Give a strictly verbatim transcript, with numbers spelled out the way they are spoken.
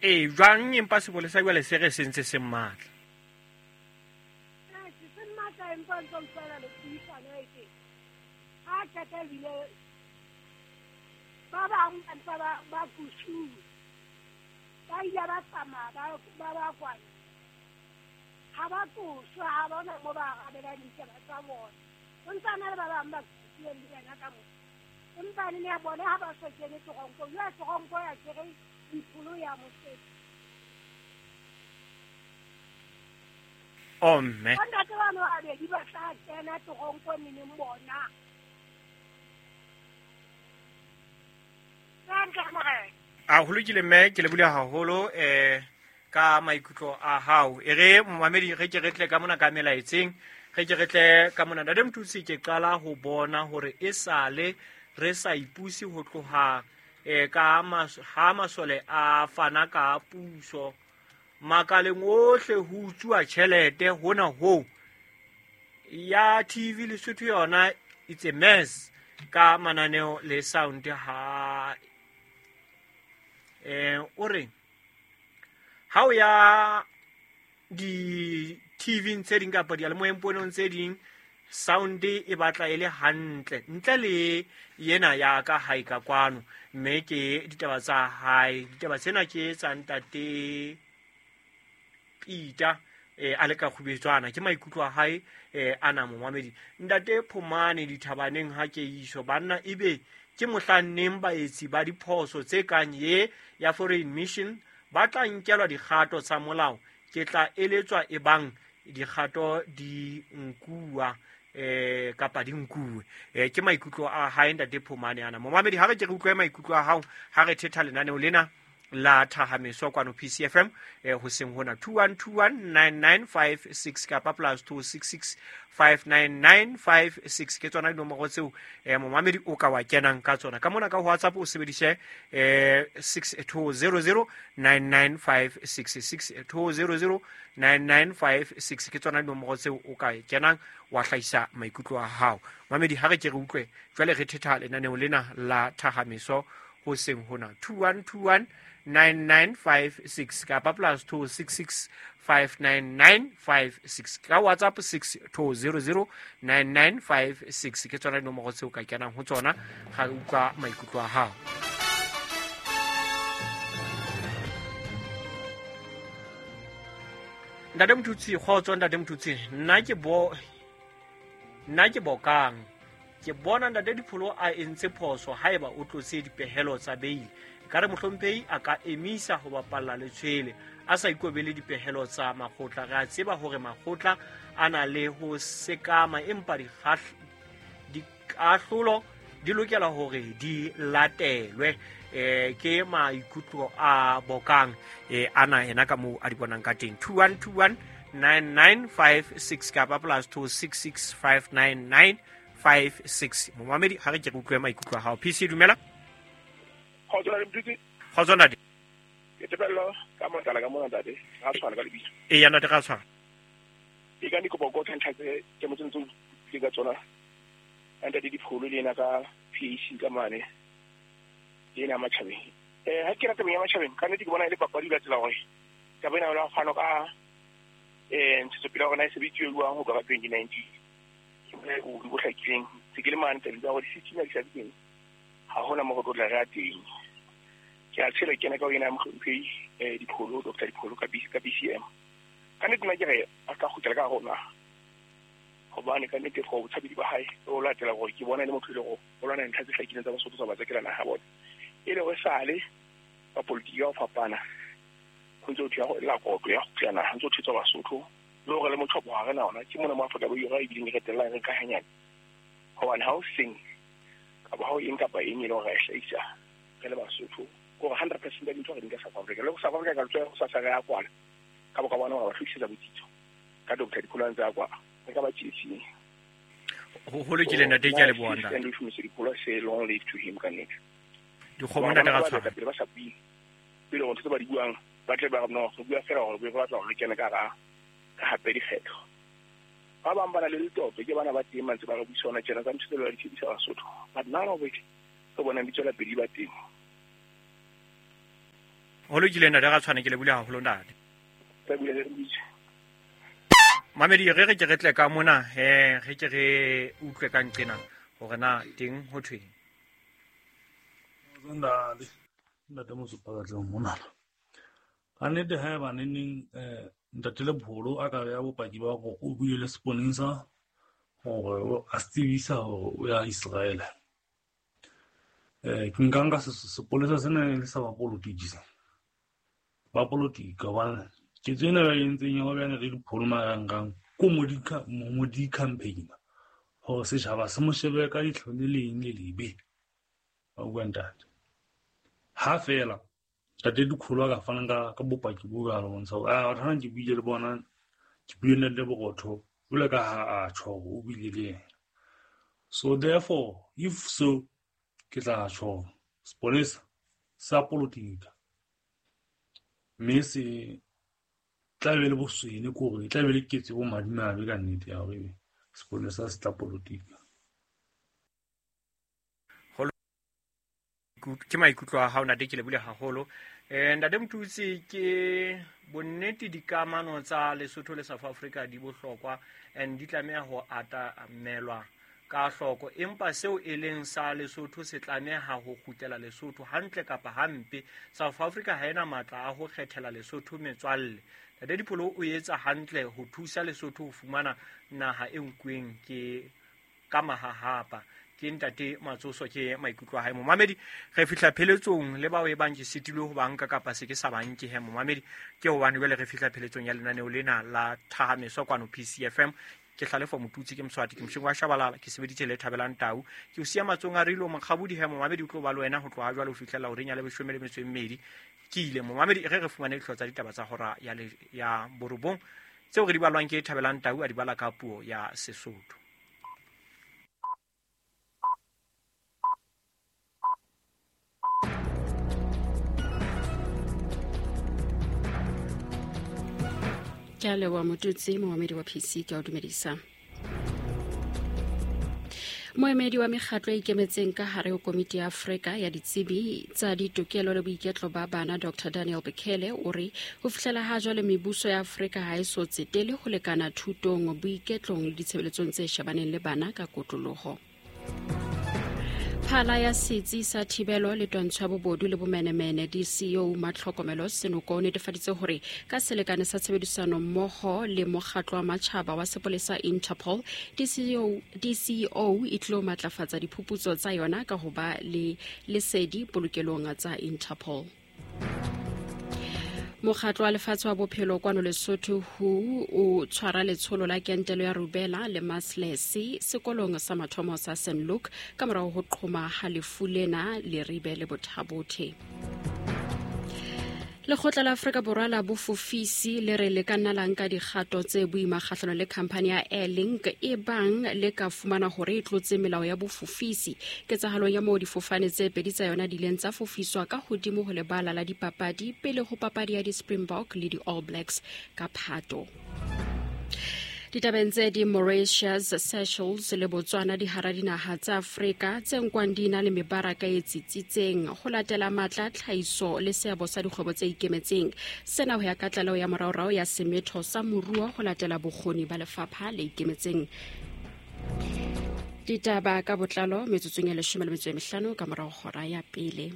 E jwang empa sepolesa jwale se re se ntse se matla. Eh se matla empa ntse fela le puisano e teng. Ha qeta bile ba bang ba ntse ba ba kusuwe. Ba ile ba tsamaya ba ba ba kwana. Ha ba tsoswa ha ba ona mo ba arabelang ditaba tsa bona. O ntse a na le ba bang ba kusuweng le yena ka moo. Empa le ya bona ha ba so kene toronkong. Jwale toronko ya kere dipholo ya mosebetsi. Oh mme. Bontate bano ba babedi ba tla kena toronkong neneng bona. A ho lokile mme ke lebohile haholo eh ka maikutlo a hao. E re momamedi re ke re tle ka mona ka melaetseng, re ke re tle ka mona. Ntate Mthutsi ke qala ho bona hore e sale re sa ipuse ho tloha eh ka mas ha masole a fana ka puso makaleng ohle ho utswa tjhelete hona ho ya T V Lesotho yona it's a mess ka mananeo le sound ha eh o re ha o ya di T V tse ding kapa diyalemoyeng tse ding sound e batla e le hantle ntle le yena ya ka hae ka kwano mme ke ditaba tsa hae ditaba tsena ke tsa ntate Peter eh a le ka kgubetswana ke maikutlo a hae eh ana momamedi ntate Phomane dithabaneng ha ke iso banna ebe ke mohlanneng baetsi ba diphoso tse kang ye ya foreign mission ba tla nkelwa dikgato tsa molao ke tla eletswa e bang dikgato di nkuwa eh kapa di nkuwe eh ke maikutlo a hae ntate Phomane ana momamedi ha re ke re utlwe maikutlo a hao ha re thetha lenaneo lena la Thahameso kwano P C F M eh hoseng hona two one two one nine nine five six kapa plus two six six five nine nine five six ke tsona dinomoro tseo eh momamedi o ka wa kenang ka tsona ka mona ka WhatsApp o sebedise eh six two zero zero nine nine five six six two zero zero nine nine five six ke tsona dinomoro tseo o ka kenang wa hlahisa maikutlo a hao mamedi ha re ke re utlwe jwale re thetha lenaneo lena la Thahameso hoseng hona two one two one nine nine five six kapa plus two six six five nine nine five six ka WhatsApp six two zero zero nine nine five six ke tsona dinomoro tseo ka kenang ho tsona ga utlwa maikutlo a hao. Ntate Mthutsi kgotso ntate Mthutsi nna ke bo nna ke bokang ke bona ntate Dipholo a entse phoso haeba o tlotse dipehelo tsa beile ka re mohlomphehi a ka emisa ho bapalla letshwele a sa ikobele dipehelo tsa makgotla re a tseba hore makgotla a na le ho sekama empa dikahlolo di lokela hore di latelwe eh ke maikutlo a bokang eh ana ena ka moo a di bonang ka teng two one two one nine nine five six kapa plus two six six five nine nine five six momamedi ha re ke re utlwe maikutlo a hao P C dumela Kgotso le Mthutsi. Kgotso ntate. Ke tebello ka motlala ka mona ntate. Ga tshwana ka lebitso. E ya ntate ga tshwana. E ka dikopo go tshwantsha tse ke mo tsentse ke ka tsona. Ntate Dipholo le ena ka P A C ka mane. Le ena matjhabeng. Eh ha ke rata ya matjhabeng ka nnete ke bona e le papadi la tsela hore ka bona la fano ka eh ntshetsopele ya rona e sebeditswe jwang ho ka twenty nineteen. Ke bona o bo hlakileng. Se ke le mane taba tsa hore di di sa teng. Ha hona mo go tla re a teng. Ke a tshela kena ka ho yena mohlomphehi eh Dipholo Doctor Dipholo ka B ka B C M. Ka nnete nna ke re a ka kgutlela ka rona. Hobane ka nnete go botshabedi ba hae o latela gore ke bona e le motho e le go o lwana ntlha tse hlakileng tsa Basotho tsa ba tsekela naha bona. E le go sale ba politiki ya ho fapana ho ntse ho thwe la kotlo ya kgutlela naha ntse ho thetswa Basotho le hore le mothopo ha re na ona ke mona mo Afrika Borwa e bileng re qetellang re ka hanyane. Hobane ha o seng kapa ha o eng kapa eng e le hore re hlahisa re le Basotho gore hundred percent ya dintho re di nka South Africa le go South Africa ka tswa go sa sa re ya kwala ka bo ka bona ba hlokisa botsitso ka Doctor Dipholo a ntse a kwa re ka ba tsietsing ho ho lokile ntate ke a leboha ntate and we Dipholo say long live to him ka nnete dikgomo ntate ga tshwana pele ba sa bue pele go ntse ba di buang ba tle ba no go bua fela gore ba batla gore kene ka ga ka hape dikgetho ba bang ba na le letoto ke bana ba teng mantse ba re buisana tjena tsa ntho tse ba di tshebisa Basotho but none of it re bona di tswela pele ba teng. Ho lokile ntate ga tshwane ke le bule haholo ntate. Mamedi re re ke re tle ka mona he re ke re utlwe ka nqena hore na teng ho thweng. Ntate ntate Mosupa ka tle mona. Ka nnete ha ba neng eh ntate Lepholo a ka ya bopaki ba go o buile le seponesa hore a tsebisa hore o ya Israel. Eh ke nka nka sepolesa sena le sa ba politiki. Ba politika ba ke tsena ba entseng ya ba le Dipholo marang ko modika modi campaign ho setjhaba se mo shebe ka ditlho le leng le lebe ba bua ntate ha fela ntate Dikholo a ka fana ka ka bopaki bo ba lo bontsha a batho ke buile le bona ke buile le Borotho jwalo ka ha a tjho o buile le yena. So therefore if so ke tla tjho sepolesa sa politika mme se tla be le boswene kore tla be le ketso bo madimabe ka nnete ya hore sepolesa se tla politika. Ke maikutlo a hao ntate ke le bule haholo. Eh ntate Motutsi ke bonnete dikamano tsa Lesotho le South Africa di bohlokwa and di tlameha ho atamelwa ka hloko, empa seo e leng sa Lesotho se tlameha ho kgutlela Lesotho hantle kapa hampe. South Africa ha ena matla a ho kgethela Lesotho metswalle. Ntate Dipholo o etsa hantle ho thusa Lesotho ho fumana naha e nkuweng ke ka mahahapa. Ke ntate Matsoso ke maikutlo a hae. Momamedi re fihla pheletsong le bao e bang ke sitilwe ho banka kapa se ke sa banke he momamedi ke hobane jwale re fihla pheletsong ya lenaneo lena la Thahameso kwano P C F M. Ke Hlalefo Motutsi ke Mswati ke Mshengwa Shabalala ke sebeditse le Thabelang Tau ke o siya matsong a Rilo Mokgabudi he momamedi o tlo ba le wena ho tloha jwale ho fihlela horeng ya leshome le metso e mmedi. Ke ile momamedi re re fumane dihlooho tsa ditaba tsa hora ya ya borobong tseo re di balwang ke Thabelang Tau a di bala ka puo ya Sesotho. Ke a leboha Motutsi, momamedi wa P C ke a o dumedisa. Moemedi wa mekgatlo e ikemetseng ka hare ho Komiti ya Afrika ya Ditsebi tsa Ditokelo le Boiketlo ba Bana Doctor Daniel Bekele o re ho fihlela ha jwale mebuso ya Afrika ha e so tsetele ho lekana thutong, boiketlong le ditshebeletsong tse shebaneng le bana ka kotloloho. Phala ya setsi sa thibelo le twantsho ya bobodu le bomenemene D C O Matlhokomelo Senoko o netefaditse hore ka selekane sa tshebedisano mmoho le mokgatlo wa matjhaba wa sepolesa Interpol, D C O D C O e tlo matlafatsa diphuputso tsa yona ka ho ba le lesedi polokelong tsa Interpol. Mokgatlo wa lefatshe wa bophelo kwano Lesotho W H O o tshwara letsholo la kentelo ya rubella le maslesi sekolong sa mathomo sa Saint Luke ka morao ho qhoma ha lefu lena Leribe le Bothabothe. Lekgotla la Afrika Borwa la bofofisi le re le ka nna la nka dikgato tse boima kgahlano le khamphani ya Airlink e bang le ka fumana hore e tlotse melao ya bofofisi ketsahalong ya moo difofane tse pedi tsa yona di ileng tsa fofiswa ka hodimo ho lebala la dipapadi pele ho papadi ya di-Springbok le di-All Blacks ka Phato. Ditabeng tse di Mauritius, Seychelles le Botswana di hara dinaha tsa Afrika tse nkwang di na le mebaraka e tsitsitseng ho latela matla, tlhahiso le seabo sa dikgwebo tse ikemetseng. Sena ho ya ka tlaleho ya moraorao ya semetho sa moruo ho latela bokgoni ba lefapha le ikemetseng. Ditaba ka botlalo metsotsong ya leshome le metso e mehlano ka morao hora ya pele.